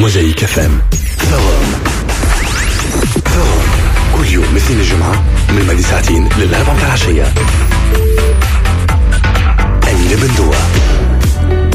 موزايك FM. Forum، Forum كل يوم اثنين الجمعة من الماضي ساعتين للأربعة متاع العشية. أمينة بندوة.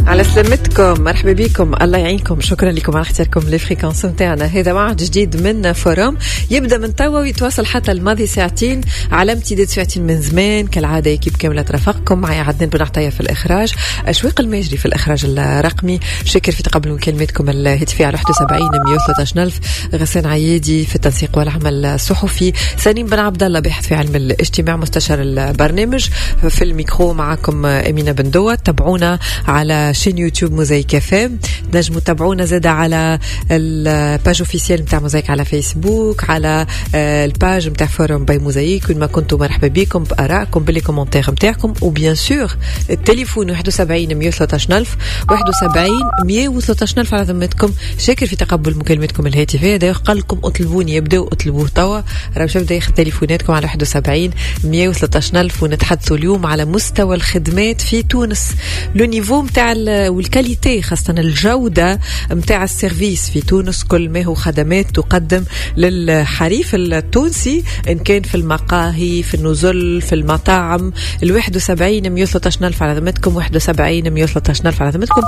على سلامتكم، مرحبا بكم، الله يعينكم. شكرا لكم على اختياركم les fréquences نتاعنا. هذا موعد جديد من Forum يبدا من توا ويتواصل حتى الماضي ساعتين، على امتداد ساعتين من زمان. كالعادة équipe كاملة ترافقكم، معي عدنان بن عطية في الاخراج، اشواق الماجري في الاخراج الرقمي، شاكر في تقبل مكالماتكم الهاتفية على 71 113 الف، غسان عيادي في التنسيق والعمل الصحفي، سليم بن عبد الله باحث في علم الاجتماع مستشار البرنامج. في الميكرو معكم امينه بن. تابعونا على chaîne YouTube موزايك FM، تنجموا تتابعونا زادة على ال page officielle نتاع موزايك على فيسبوك، على ال page نتاع Forum by موزايك. وين ما كنتوا مرحبا بكم بارائكم، ب les commentaires نتاعكم، و bien sûr التليفون 71 113 الف، 71 113 الف على ذمتكم. شاكر في تقبل مكالمتكم الهاتفيه. d'ailleurs قال لكم اطلبوني، يبداو اطلبوه توا، راه باش يبدا ياخذ تليفوناتكم على 71 113 الف. ونتحدثوا اليوم على مستوى الخدمات في تونس، le niveau نتاع وال qualité، خاصة الجودة متاع ال service في تونس، كل ما هو خدمات تقدم للحريف التونسي، إن كان في المقاهي، في النزل، في المطاعم. ال 71 113 ألف على ذمتكم، 71 113 ألف على ذمتكم.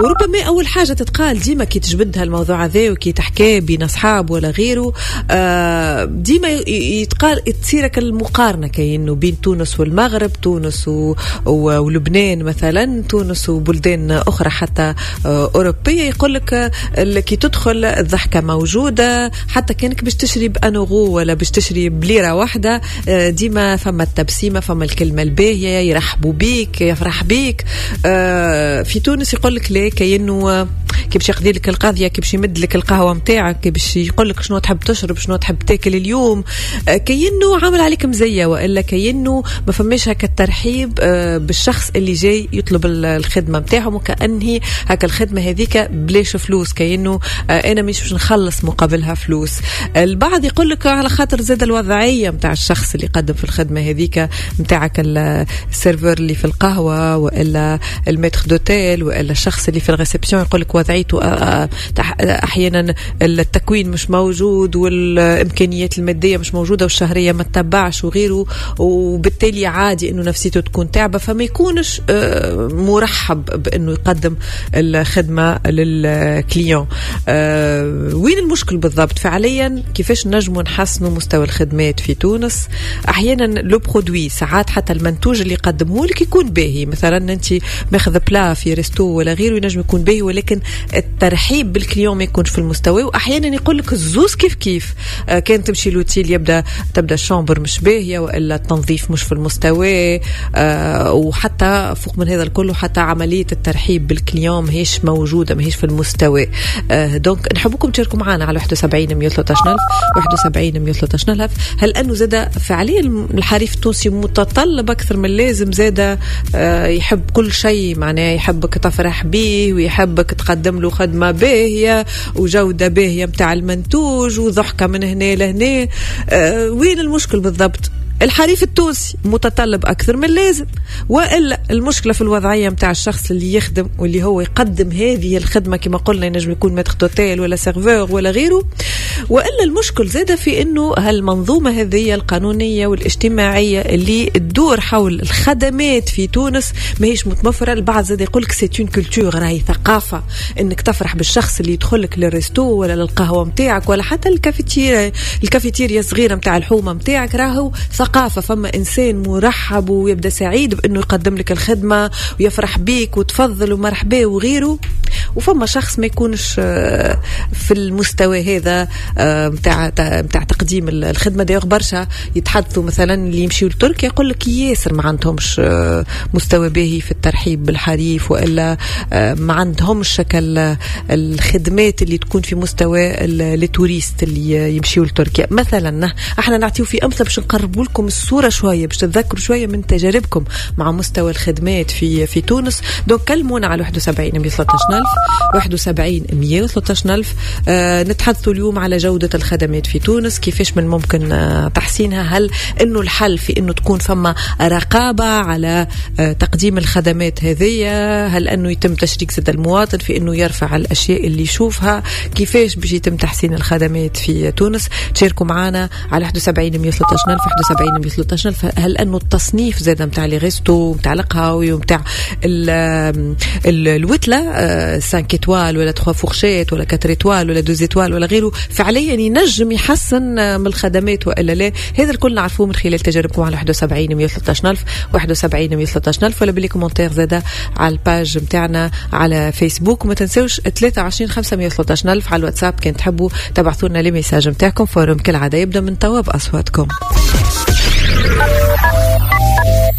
وربما أول حاجة تتقال ديما كي تجبد هالموضوع هذا وكي تحكي بين أصحاب ولا غيره، ديما يتقال تصيرك المقارنة كأنه بين تونس والمغرب، تونس ولبنان مثلا، تونس وبلدان أخرى حتى أوروبية. يقول لك كي تدخل الضحكة موجودة، حتى كانك باش تشري ب un euro ولا باش تشري بليرة واحدة، ديما فما التبسيمة، فما الكلمة الباهية، يرحبوا بيك، يفرح بيك. في تونس يقول لك لا، كأنه كي باش يقضي لك القضية، كي باش يمد لك القهوة نتاعك، كي باش يقول لك شنو تحب تشرب، شنو تحب تاكل اليوم، كأنه عامل عليك مزية، وإلا كأنه ما فماش هكا الترحيب بالشخص اللي جاي يطلب الخدمة نتاعهم، وكأنه هكا الخدمة هذيك بلاش فلوس، كأنه أنا مش باش نخلص مقابلها فلوس. البعض يقول لك على خاطر زاد الوضعية نتاع الشخص اللي يقدم في الخدمة هذيك نتاعك، ال serveur اللي في القهوة وإلا ال maître d'hôtel وإلا الشخص اللي في ال réception، يقول لك وضعيته أحيانا التكوين مش موجود والإمكانيات المادية مش موجودة والشهرية ما تتبعش وغيره، وبالتالي عادي أنه نفسيته تكون تعبة، فما يكونش مرحب بأنه يقدم الخدمة لل client. وين المشكل بالضبط فعليا؟ كيفاش نجموا نحسنوا مستوى الخدمات في تونس؟ أحيانا le produit، ساعات حتى المنتوج اللي يقدمه لك يكون باهي، مثلا أنت ماخذ plat في resto ولا غيره ينجم يكون باهي، ولكن الترحيب بال client ما يكونش في المستوى. واحيانا يقول لك الزوز كيف كيف، كان تمشي l'hôtel تبدا ال chambre مش باهيه والا التنظيف مش في المستوى، وحتى فوق من هذا الكل وحتى عملية الترحيب بال client ماهيش موجوده، ماهيش في المستوى. donc نحبكم تشاركوا معنا على 71 113 الف، 71 113 الف. هل انه زاد فعليا الحريف التونسي متطلب اكثر من اللازم؟ زاد يحب كل شيء، معناه يحبك تفرح به ويحبك تقدم له خدمة باهية وجودة باهية متاع المنتوج وضحكة من هنا لهنا. وين المشكل بالضبط؟ الحريف التونسي متطلب أكثر من اللازم، وإلا المشكلة في الوضعية متاع الشخص اللي يخدم واللي هو يقدم هذه الخدمة، كما قلنا ينجم يكون maître d'hôtel ولا serveur ولا غيره، وإلا المشكل زاد في أنه هالمنظومة هذه القانونية والاجتماعية اللي تدور حول الخدمات في تونس ماهيش متوفرة. البعض زاد يقول لك c'est une culture، راهي ثقافة أنك تفرح بالشخص اللي يدخلك لل resto ولا للقهوة متاعك ولا حتى الكافيتيريا الصغيرة متاع الحومة متاعك، راهو ثقافة. فما إنسان مرحب ويبدأ سعيد بأنه يقدم لك الخدمة ويفرح بيك وتفضل ومرحبا وغيره، وفما شخص ما يكونش في المستوى هذا متاع تقديم الخدمة. d'ailleurs برشا يتحدثوا مثلا اللي يمشيوا لتركيا يقول لك ياسر ما عندهمش مستوى باهي في الترحيب بالحريف، وإلا ما عندهمش شكل الخدمات اللي تكون في مستوى les touristes اللي يمشيوا لتركيا مثلا. احنا نعطيو في أمثلة باش نقربوا لكم الصورة شوية، باش تتذكروا شوية من تجاربكم مع مستوى الخدمات في تونس. donc كلمونا على 71 113 ألف، 71 113 ألف. نتحدث اليوم على جودة الخدمات في تونس، كيفاش من ممكن تحسينها؟ هل أنه الحل في أنه تكون فما رقابة على تقديم الخدمات هذه؟ هل أنه يتم تشريك زاد المواطن في أنه يرفع الأشياء اللي يشوفها؟ كيفاش باش يتم تحسين الخدمات في تونس؟ تشاركوا معنا على 71 113 ألف، 71 113 ألف. هل أنه التصنيف زاد نتاع les restos، نتاع القهاوي ونتاع الوتلة، 5 étoiles ولا 3 fourchettes ولا 4 étoiles ولا 2 étoiles ولا غيره، فعليا ينجم يحسن من الخدمات والا لا؟ هذا الكل نعرفوه من خلال تجاربكم على 71 113 ألف، 71 113 ألف، ولا ب les commentaires زادة على ال page نتاعنا على فيسبوك. وما تنسوش 23 513 ألف على الواتساب كان تحبوا تبعثوا لنا les messages نتاعكم. forum كالعادة يبدا من توا بأصواتكم.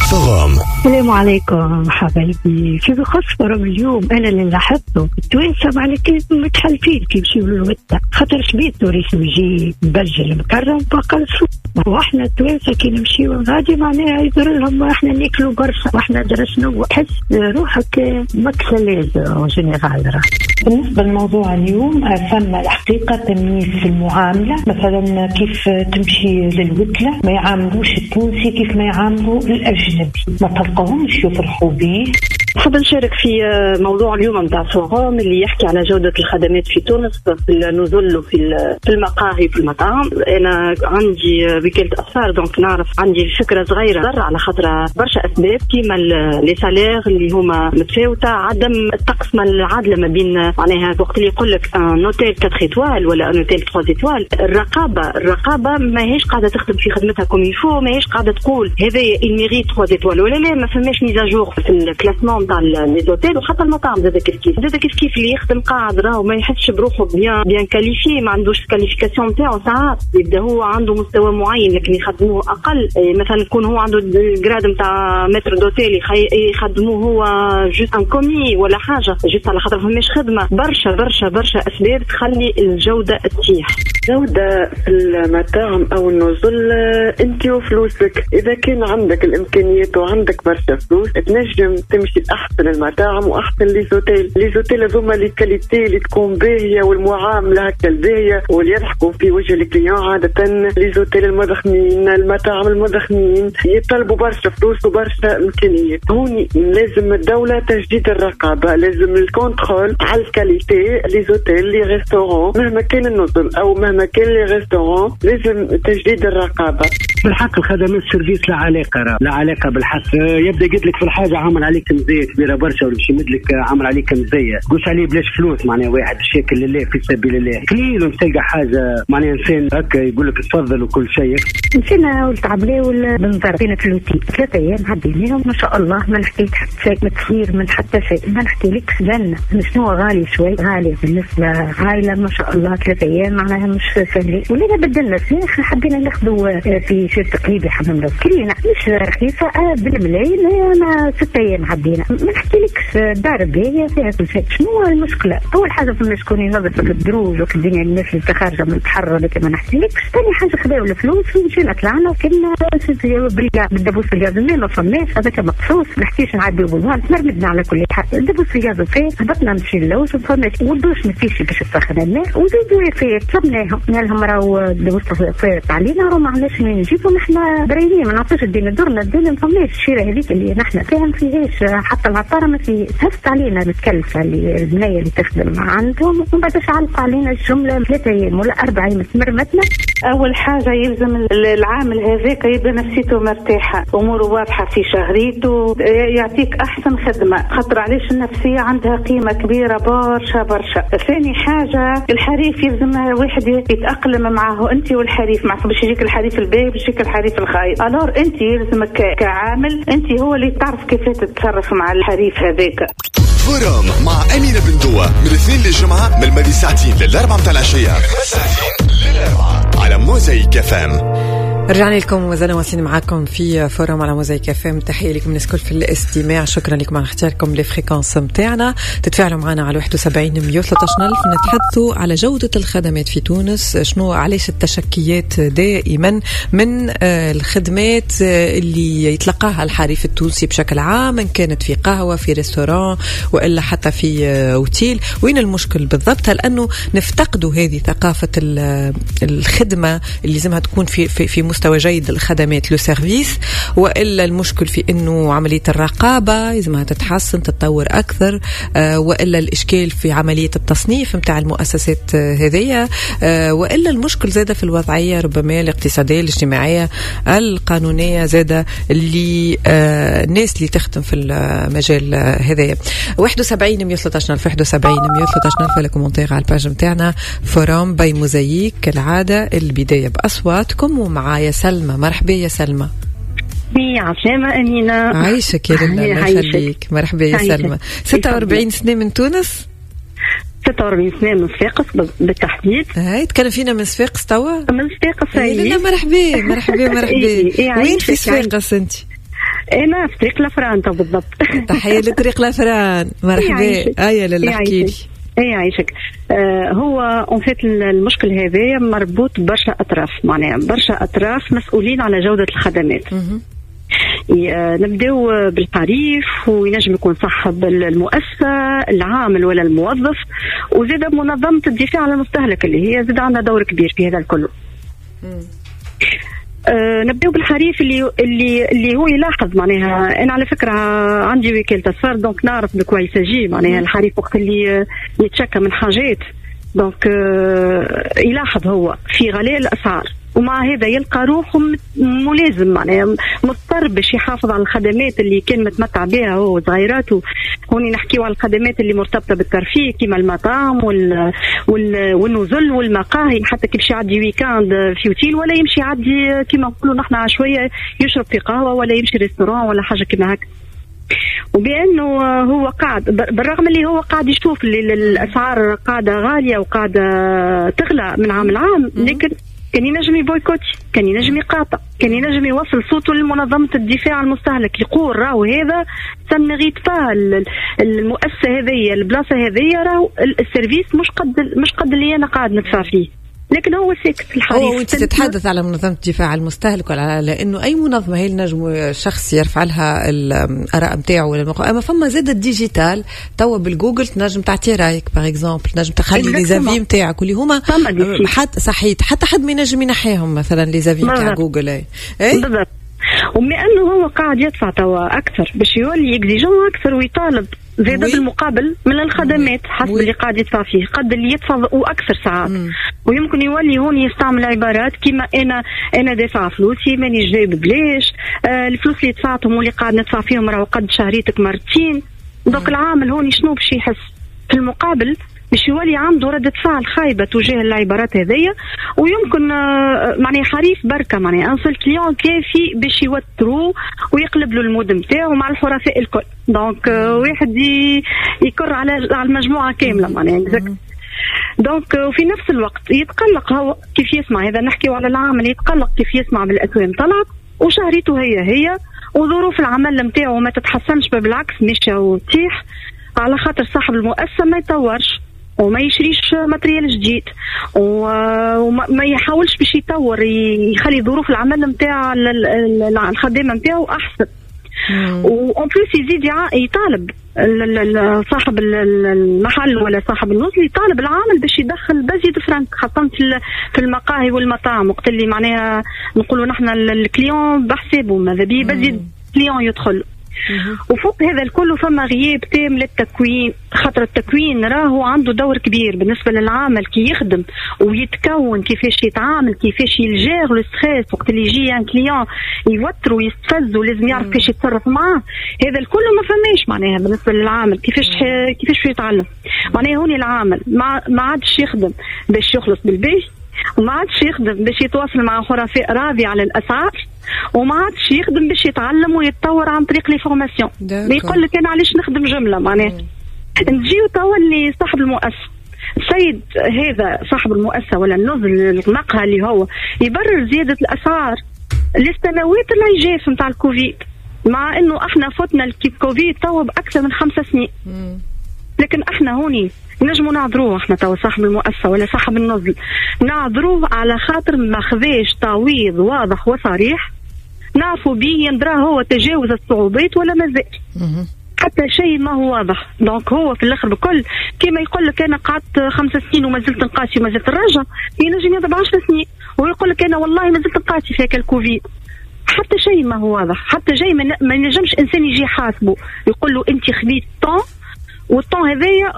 forum. السلام عليكم حبايبي. في بخص forum اليوم، انا اللي لاحظته التوانسة معناها متحلفين كي يمشيو للوتة، خاطر شبيه touriste يجي مبجل مكرم بقى، واحنا التوانسة كي نمشيو غادي معناها يدير لهم احنا ناكلوا برشا واحنا درا شنو، تحس روحك ماكش à l'aise en général. بالنسبة لموضوع اليوم، ثم الحقيقة تمييز في المعاملة. مثلا كيف تمشي للوتلة ما يعاملوش التونسي كيف ما يعاملوا الأجنبي، ما تلقاهمش يفرحوا به. حاب نشارك في موضوع اليوم نتاع forum اللي يحكي على جودة الخدمات في تونس، في النزل وفي المقاهي، في المطاعم. انا عندي وكالة اسفار، donc نعرف، عندي فكرة صغيرة. على خاطر برشا اسباب كيما les salaires اللي هما متفاوتة، عدم التقسمة العادلة ما بين معناها وقت اللي يقول لك un hôtel 4 étoiles ولا un hôtel 3 étoiles، الرقابة ماهيش قاعدة تخدم في خدمتها comme il faut، ماهيش قاعدة تقول هذا il mérite 3 étoiles ولا لا. ما فماش mise à jour في ال classement تاع les hôtels، وحتى المطاعم زاد كيف كيف، زاد كيف كيف. اللي يخدم قاعد راهو ما يحسش بروحه bien qualifié، ما عندوش qualification نتاعو. ساعات يبدا هو عنده مستوى معين لكن يخدموه اقل. إيه، مثلا يكون هو عنده ال grade نتاع maître d'hôtel، يخدموه هو juste un commis ولا حاجه، juste على خاطر فماش خدمه. برشا برشا برشا اسباب تخلي الجودة تطيح. جودة في المطاعم أو النزل، أنت وفلوسك. إذا كان عندك الإمكانيات وعندك برشا فلوس تنجم تمشي لأحسن المطاعم وأحسن les hôtels. les hôtels هذوما les qualités اللي تكون باهية والمعاملة هكا الباهية واللي يضحكوا في وجه ال client. عادة les hôtels المضخمين، المطاعم المضخمين، يطلبوا برشا فلوس وبرشا إمكانيات. هوني لازم الدولة تجديد الرقابة، لازم ال contrôle على ال qualité، les hôtels، les restaurants، مهما كان النزل أو مهما كان les restaurants لازم تجديد الرقابة. بالحق الخدمات service لا علاقه، راه لا علاقة بالحق. يبدا يقول لك في الحاجة عامل عليك مزية كبيرة برشا، ولا باش يمد لك عامل عليك مزيه، قوش عليه بلاش فلوس. معناها واحد باش ياكل لله في سبيل الله قليل تلقى حاجه، معناها انسان هكا يقول لك تفضل وكل شيء. مشينا ولد عبلاول بنزرت في l'hôtel، 3 ايام عديناهم ما شاء الله، ما نحكي حتى شيء، ما تصير من حتى شيء، ما نحكي لك جنة. شنو غالي شوي، غالي بالنسبة عائلة ما شاء الله، 3 ايام معناها مش سهلة. ولينا بدلنا سنين، حبينا ناخذوا في شيء تقليدي حمام كلينا مش رخيصة بالملايين. انا 6 ايام عدينا، ما نحكي لكش، دار باهية فيها كل شيء. شنو المشكلة؟ أول حاجة فما شكون ينظف الدروج وفي الدنيا، الناس اللي خارجة من البحر ولا ما نحكي لكش. ثاني حاجة خذاو الفلوس ومشينا طلعنا كنا بالدبوس الغاز، الماء ما فماش، هذاك مقصوص، ما نحكيش نعديو بالماء، تمرمدنا. على كل حال الدبوس الغاز فيه، هبطنا نمشي نلوج ما فماش، والدوش ما فيش باش تسخن الماء. وزيدوا فيه طلبناهم، قلنا لهم راهو الدبوس فات علينا، راهو ما عندناش منين نجيبو، نحن برايين ما نعرفوش الدنيا، درنا الدنيا ما فماش. الشيره هذيك اللي نحن فيها ما فيهاش، حتى العطاره ما فيه. هزت علينا متكلفه اللي البنية اللي تخدم عندهم، ومن بعد علقوا علينا الجمله. 3 ايام ولا 4 ايام تمرمتنا. اول حاجة يلزم العامل هذاك يبدا نفسيته مرتاحه، اموره واضحة في شهريته، يعطيك احسن خدمه، خاطر علاش؟ النفسية عندها قيمة كبيرة برشا برشا. ثاني حاجة الحريف، يلزم واحد يتاقلم معه، انت والحريف، مع باش يجيك الحريف الباهي باش يجيك الحريف الخايب. alors انت يلزمك كعامل انت هو اللي تعرف كيف تتصرف مع الحريف هذاك. forum مع أمينة بن دوة من الاثنين للجمعة من الماضي ساعتين للأربعة متاع العشية، ساعتين للأربعة، على موزايك FM. رجعنا لكم وزلنا واصلين معاكم في forum على موزايك FM. تحية لكم الناس الكل في الاستماع، شكرا لكم على اختياركم les fréquences نتاعنا. تتفاعلوا معنا على 71 113 ألف. نتحدثوا على جودة الخدمات في تونس، شنو علاش التشكيات دائما من الخدمات اللي يتلقاها الحريف التونسي بشكل عام، إن كانت في قهوة، في restaurant، وإلا حتى في أوتيل. وين المشكل بالضبط؟ هل أنه نفتقدوا هذه ثقافة الخدمة اللي لازمها تكون في في, في مستوى جيد الخدمات le service، والا المشكل في انه عملية الرقابة لازمها تتحسن تتطور اكثر، والا الاشكال في عملية التصنيف نتاع المؤسسات هذيا، والا المشكل زاده في الوضعية ربما الاقتصادية الاجتماعية القانونية زاده اللي الناس اللي تخدم في المجال هذايا. 71 113 ألف، 71 113 ألف، les commentaires على ال page نتاعنا forum by موزايك. كالعادة البداية باصواتكم، ومعايا سلمى. مرحبا يا سلمى. يا عسلامة أمينة. عايشك يا لله، الله يخليك. مرحبا يا سلمى. 46 سنة من تونس؟ 46 سنة من صفاقس بالتحديد. هاي تكلم فينا من صفاقس توا؟ من صفاقس. لا مرحبا مرحبا مرحبا. وين في صفاقس أنت؟ أنا في طريق الأفران بالضبط. تحية لطريق الأفران. مرحبا. هيا لله احكي لي. اي عايشك. هو en fait المشكل هذا مربوط برشا اطراف، معناها برشا اطراف مسؤولين على جوده الخدمات. نبداو بالحريف، وينجم يكون صاحب المؤسسة، العامل ولا الموظف، وزاد منظمة الدفاع على المستهلك اللي هي زاد عندها دور كبير في هذا الكل. نبداو بالحريف اللي اللي اللي هو يلاحظ، معناها انا على فكرة عندي وكالة اسفار donc نعرف de quoi il s'agit. معناها الحريف وقت اللي يتشكى من حاجات donc يلاحظ هو في غلاء الاسعار، ومع هذا يلقى روحه ملازم، معناها مضطر باش يحافظ على الخدمات اللي كان متمتع بها هو وصغيراته. هوني نحكيو على الخدمات اللي مرتبطة بالترفيه كيما المطاعم والنزل والمقاهي، حتى كي باش يعدي week-end في اوتيل ولا يمشي يعدي كيما نقولوا نحن شوية يشرب في قهوة ولا يمشي restaurant ولا حاجة كيما هكا. وبانه هو قاعد، بالرغم اللي هو قاعد يشوف اللي الاسعار قاعدة غالية وقاعدة تغلى من عام لعام، لكن كان ينجم ي boycotter، كان ينجم يقاطع، كان ينجم يوصل صوته لمنظمة الدفاع عن المستهلك، يقول راهو هذا ça ne mérite pas المؤسسة هذيا، البلاصة هذيا، راهو ال service مش قد اللي انا قاعد ندفع فيه. لكن هو ساكت الحريف. هو وانت تتحدث على منظمة الدفاع عن المستهلك، ولا لانه اي منظمة هي نجم شخص يرفع لها الاراء نتاعو ولا الموقع، اما فما زاد ال digital توا بالجوجل تنجم تعطي رايك par exemple، تنجم تخلي les avis نتاعك واللي هما حتى صحيت حتى حد ما ينجم ينحيهم، مثلا les avis نتاع جوجل. اي بالضبط. وبما انه هو قاعد يدفع توا اكثر باش يولي exigeant اكثر ويطالب زاد بالمقابل من الخدمات حسب اللي قاعد يدفع فيه، قد اللي يدفع واكثر ساعات. ويمكن يولي هون يستعمل عبارات كيما انا دافع فلوسي ماني جايب ببلاش، الفلوس اللي دفعتهم واللي قاعد ندفع فيهم راهو قد شهريتك مرتين. donc العامل هون شنو باش يحس في المقابل؟ باش يولي عنده ردة فعل خايبة تجاه العبارات هذيا، ويمكن معناها حريف بركة، معناها un seul client كافي باش يوترو ويقلب له ال mood نتاعو مع الحرفاء الكل. donc واحد يكر على المجموعة كاملة معناها. donc وفي نفس الوقت يتقلق هو كيف يسمع، هذا نحكي على العامل، يتقلق كيف يسمع بالاسوام طلعت وشهريته هي هي وظروف العمل نتاعو ما تتحسنش، بالعكس ماشية وتطيح، على خاطر صاحب المؤسسة ما يطورش وما يشريش matériel جديد وما يحاولش باش يطور يخلي ظروف العمل نتاع الخدامة نتاعو احسن. و en plus يزيد يطالب صاحب المحل ولا صاحب النزل، يطالب العامل باش يدخل بزيد فرانك، خاصة في المقاهي والمطاعم، وقت اللي معناها نقولوا نحن ال client بحسابه، ماذا بيه بزيد client يدخل. وفوق هذا الكل فما غياب تام للتكوين، خاطر التكوين راهو عنده دور كبير بالنسبة للعامل كي يخدم ويتكون كيفاش يتعامل، كيفاش ي gère le stress وقت اللي يجي un client يوتر ويستفز ولازم يعرف كيفاش يتصرف معاه. هذا الكل ما فماش معناها بالنسبة للعامل كيفاش يتعلم. معناها هوني العامل ما عادش يخدم باش يخلص بالباهي، وما عادش يخدم باش يتواصل مع حرفاء راضي على الاسعار، وما عادش يخدم باش يتعلم ويتطور عن طريق les formations. يقول لك انا علاش نخدم جملة. معناها نجيو توا اللي صاحب المؤسسة، السيد هذا صاحب المؤسسة ولا النزل المقهى اللي هو يبرر زيادة الاسعار. للسنوات العجاف نتاع الكوفيد، مع انه احنا فتنا الكوفيد توا باكثر من 5 سنين. لكن احنا هوني نجموا نعذروه، احنا توا صاحب المؤسسة ولا صاحب النزل نعذروه على خاطر ما خذاش تعويض واضح وصريح نعرفوا به يندرى هو تجاوز الصعوبات ولا مازال. حتى شيء ما هو واضح. donc هو في الاخر بكل كما يقول لك انا قعدت 5 سنين وما زلت نقاسي وما زلت نراجع، ينجم يضرب 10 سنين ويقول لك انا والله ما زلت نقاسي في الكوفيد. حتى شيء ما هو واضح، حتى شيء ما ينجمش انسان يجي يحاسبه يقول له انت خذيت tant وال tant هذايا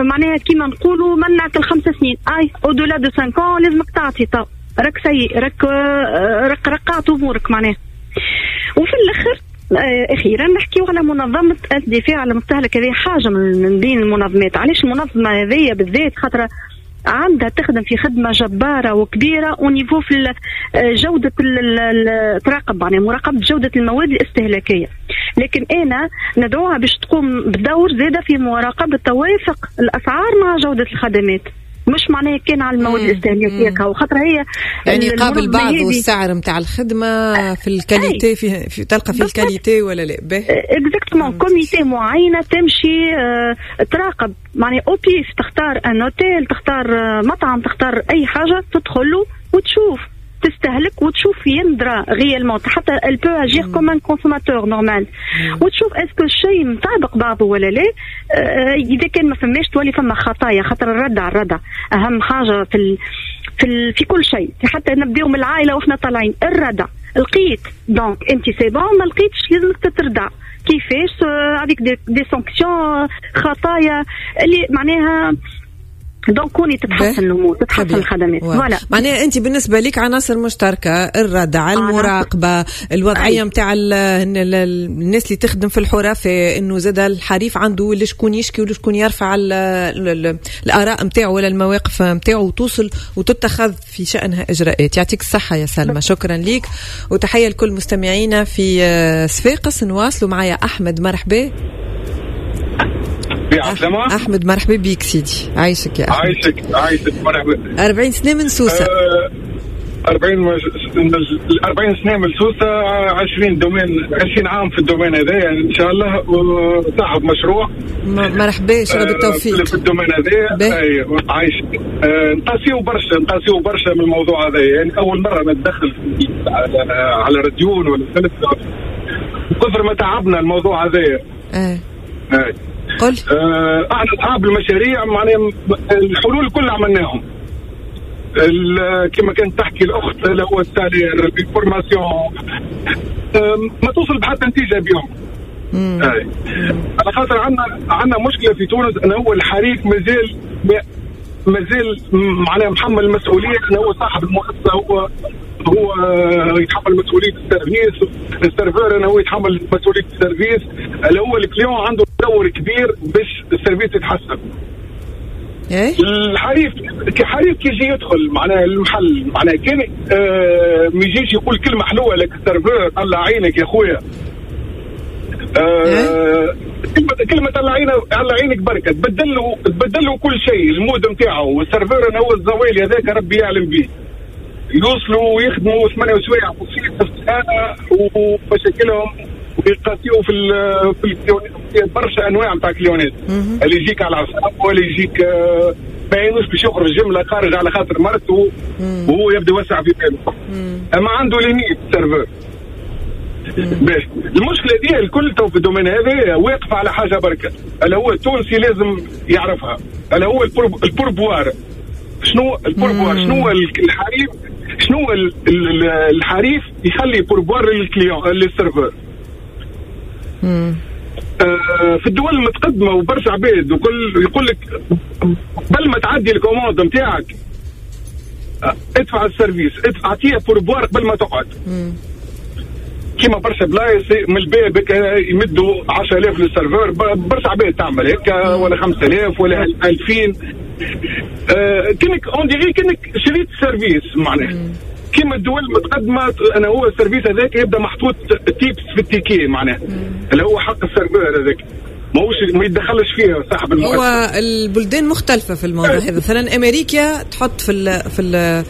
معناها كيما نقولوا منعك ال5 سنين، اي au-delà de 5 لازمك تعطي tant، راك سيء، راك رقعت امورك معناها. وفي الاخر اخيرا نحكيو على منظمة الدفاع على المستهلك، هذه حاجة من بين المنظمات. علاش المنظمة هذه بالذات؟ خاطر عندها تخدم في خدمة جبارة وكبيره au niveau في جوده تراقب يعني مراقبة جوده المواد الاستهلاكية، لكن انا ندعوها باش تقوم بدور زاده في مراقبة توافق الاسعار مع جوده الخدمات، مش معناها كان على المواد الاستهلاكية وخاطر هي يعني قابل بعض والسعر نتاع الخدمة في ال qualité في تلقى في ال qualité ولا لا. exactement comité معينة تمشي تراقب معناها au pif، تختار un hôtel، تختار مطعم، تختار اي حاجة تدخل له وتشوف تستهلك وتشوف يندرى réellement، حتى elle peut agir comme un consommateur normal، وتشوف est-ce que الشيء مطابق بعضه ولا لا. اذا كان ما فماش تولي فما خطايا، خاطر الردع اهم حاجة في في في كل شيء، حتى نبداو من العائلة واحنا طالعين الردع. لقيت donc انت c'est bon، ما لقيتش لازمك تتردع كيفاش avec des sanctions، خطايا اللي معناها donc كوني تتحسن الامور، تتحسن الخدمات. voilà معناها انت بالنسبة لك عناصر مشتركة، الردع، المراقبة، الوضعية نتاع الناس اللي تخدم في الحرفاء، انه زاد الحريف عنده اللي شكون يشكي ولا شكون يرفع الاراء نتاعو ولا المواقف نتاعو وتوصل وتتخذ في شانها اجراءات. يعطيك الصحة يا سلمى، شكرا لك وتحية لكل مستمعينا في صفاقس. نواصلوا معايا احمد، مرحبا. أحمد مرحبا بيك سيدي، عايشك يا أحمد. عايشك مرحبا. 40 سنة من سوسة. 40 سنة من سوسة، 20 domaine، 20 عام في ال domaine هذا يعني إن شاء الله، وصاحب مشروع. مرحبا، شكرا بالتوفيق في ال domaine هذا. عايشك. نقاسيو برشا من الموضوع هذا، يعني أول مرة نتدخل على راديون ولا ثلاثة، كثر ما تعبنا الموضوع هذا. قل. احنا اصحاب المشاريع معناها الحلول كلها عملناهم، كما كانت تحكي الاخت اللي هو ال salaire، ال formation، ما توصل بحتى نتيجة بيهم. على خاطر عندنا مشكلة في تونس انه هو الحريف مازال معناها محمل المسؤولية، انه هو صاحب المؤسسة، هو يتحمل مسؤولية ال service، ال serveur انه هو يتحمل مسؤولية ال service، اللي هو ال client عنده دور كبير باش ال service يتحسن. الحريف كحريف كي يجي يدخل معناها المحل، معناها كان ما يجيش يقول كلمة حلوة لك ال serveur، طلع عينك يا خويا، كلمة طلع عينك بركة، تبدل له كل شيء، ال mood نتاعو، وال serveur انه هو الزوالي هذاك ربي يعلم به، يوصلوا ويخدموا 8 سوايع في السنة ومشاكلهم، ويقاسيو في برشا انواع نتاع client ات، اللي يجيك على العصاب ولا يجيك ما يعينوش باش يخرج جملة خارج على خاطر مرته وهو يبدا يوسع في باله، اما عنده limite serveur. باش المشكلة دي الكل تو في ال domaine هذا واقفة على حاجة بركة، اللي هو التونسي لازم يعرفها، اللي هو ال pourboire. شنو ال pourboire؟ شنو الحريف؟ شنو الحريف يخلي pourboire لل client لل serveur؟ في الدول المتقدمة وبرشا عباد وكل يقول لك قبل ما تعدي ال commande نتاعك ادفع ال service، اعطيه pourboire قبل ما تقعد. كيما برشا بلايص من الباب يمدوا 10000 لل serveur، برشا عباد تعمل هكا، ولا 5000 ولا 2000. كأنك on dirait كأنك شريت service معناها. كيما الدول المتقدمة انا هو ال service هذاك يبدا محطوط tips في ال ticket معناها، اللي هو حق ال serveur هذاك. ماهوش ما يتدخلش فيه صاحب المؤسسة. هو البلدان مختلفة في الموضوع هذا. مثلا امريكا تحط في ال في ال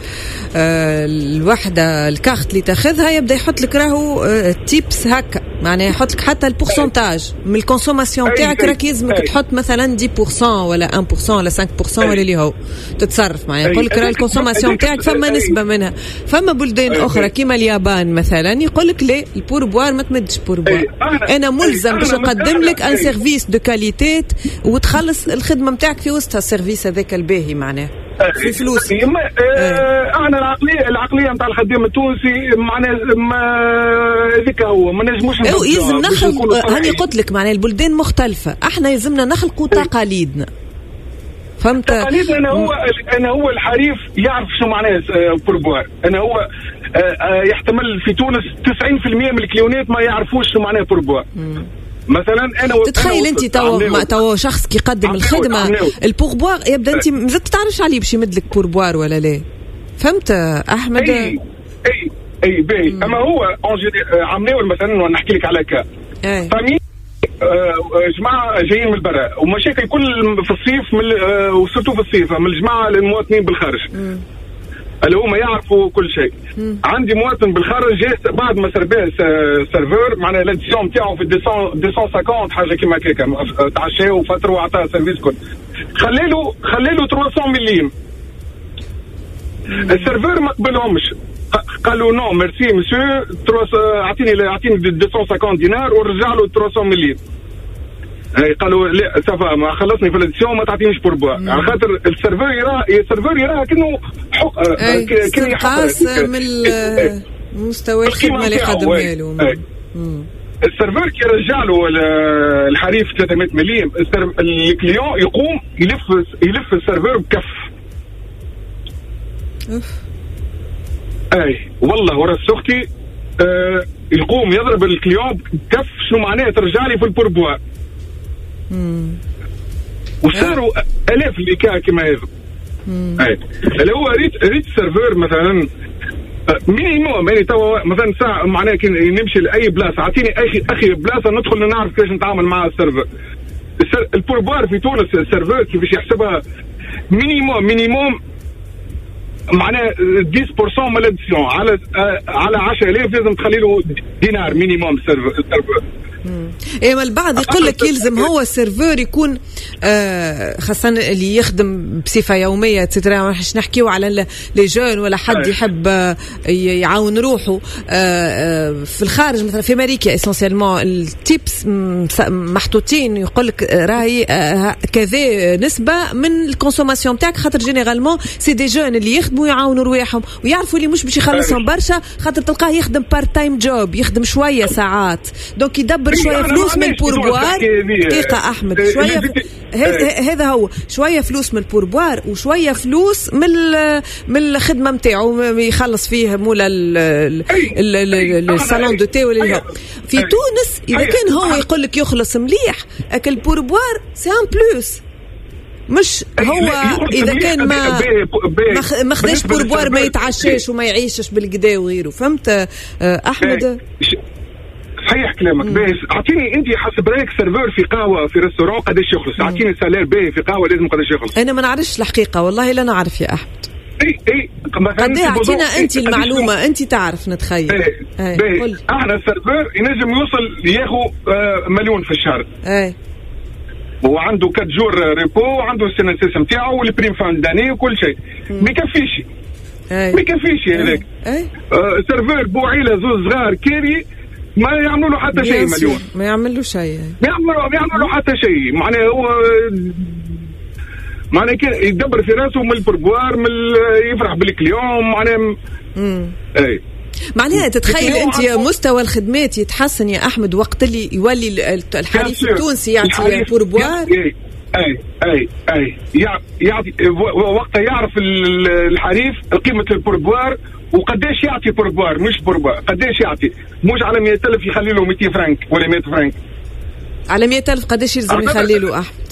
الوحدة الكارت اللي تاخذها يبدا يحط لك راهو tips هكا، معناها يحط لك حتى ال pourcentage من ال consommation تاعك، راك يلزمك تحط مثلا 10% ولا 1% ولا 5% ولا اللي هو تتصرف، معناها يقول لك راه ال consommation تاعك فما نسبه منها. فما بلدان اخرى كيما اليابان مثلا يقول لك لا، ال pourboire ما تمدش pourboire، انا ملزم باش نقدم لك un service de qualité وتخلص الخدمة نتاعك في وسطها ال service هذاك الباهي، معناه في فلوس. احنا العقلية نتاع الخدام التونسي معناها هذيك هو ما نجموش يلزم نخلق. هاني قلت لك معناها البلدان مختلفه، احنا يلزمنا نخلقوا تقاليدنا، فهمت؟ تقاليدنا. انا هو الحريف يعرف شو معناه pourboire. انا هو يحتمل في تونس 90% من ال client ات ما يعرفوش شو معناه pourboire. مثلا انا تتخيل انت تو شخص كي يقدم الخدمة ال pourboire يبدا انت مازلت تعرفش عليه باش يمد لك pourboire ولا لا، فهمت احمد؟ اي اي اي باهي. اما هو عمناول مثلا نحكي لك على cas famille جماعة جايين من برا ومشاكل كل في الصيف و surtout في الصيف من الجماعة المواطنين بالخارج اللي هما يعرفوا كل شيء. عندي مواطن بالخارج جاي بعد ما سرباه serveur معناها l'addition نتاعو في 250 حاجة كيما هكاك، تعشى وفتر وعطاه service كل، خليله 300 مليم. ال serveur ما قبلهمش، قالوا non merci monsieur، اعطيني 250 دينار ورجع له 300 مليم. قالوا لا ça va ما خلصني في l'addition ما تعطينيش pourboire، على خاطر ال serveur يراه كأنه حق استنقاص من مستوى الخدمة اللي قدمها له. ال serveur كي يرجع له الحريف 300 مليم، ال client يقوم يلف ال serveur بكف. اي والله ورا اختي يقوم يضرب ال client بكف. شنو معناه ترجع لي في ال pourboire؟ وصاروا الاف les cas كما هذا. اي اللي هو ريت serveur مثلا minimum، يعني توا مثلا ساعة معناها كي نمشي لاي بلاصة اعطيني اخي بلاصة ندخل نعرف كيفاش نتعامل مع ال serveur. ال pourboire في تونس ال serveur كيفاش يحسبها minimum معناها 10% من l'addition على 10000 لازم تخلي له دينار minimum serveur. ايه ما البعض يقول لك يلزم هو ال serveur يكون خاصة اللي يخدم بصفة يومية et cetera، مش نحكيو على les jeunes ولا حد يحب يعاون روحه في الخارج. مثلا في امريكا essentiellement ال tips محطوطين، يقول لك راهي كذا نسبة من ال consommation تاعك، خاطر généralement c'est des jeunes اللي يخدموا يعاونوا رواحهم ويعرفوا اللي مش باش يخلصهم برشا، خاطر تلقاه يخدم part time job، يخدم شوية ساعات، donc يدبر شوية فلوس من ال pourboire. دقيقة احمد، شوية هذا هو شوية فلوس من ال pourboire وشوية فلوس من الخدمة نتاعو يخلص فيه مولا ال salon de thé ولا اللي. في تونس اذا كان هو يقول لك يخلص مليح اكل ال pourboire c'est un plus، مش هو اذا كان ما خداش pourboire ما يتعشاش وما يعيشش بالقدا وغيره، فهمت احمد؟ صحيح كلامك. باهي اعطيني انت حسب رايك serveur في قهوة في restaurant قداش يخلص؟ اعطيني salaire باهي في قهوة لازم قداش يخلص؟ انا ما نعرفش الحقيقة والله لا نعرف يا احمد. اي قد اعطينا انت المعلومة، انت تعرف نتخيل. باهي احنا ال serveur ينجم يوصل ياخذ مليون في الشهر. اي وعنده 4 jours repos وعنده ال CNSS نتاعو وال prime fin d'année وكل شيء، ما يكفيش. ما يكفيش هذاك. serveur بو عيله زوز صغار كاري ما يعملوا له حتى شيء مليون، ما يعملوا شيء، ما يعملوا حتى شيء. معناها هو معناها يدبر في راسه من ال pourboire، من يفرح بال client معناها. اي معناها تتخيل انت مستوى الخدمات يتحسن يا احمد وقت اللي يولي الحريف التونسي يعطي pourboire؟ اي اي اي يعطي وقتها يعرف الحريف قيمة ال pourboire وقداش يعطي pourboire، مش pourboire قداش يعطي، مش على 100,000 يخلي له 200 فرنك ولا 100 فرنك. على 100,000 قداش يلزم يخلي له احمد؟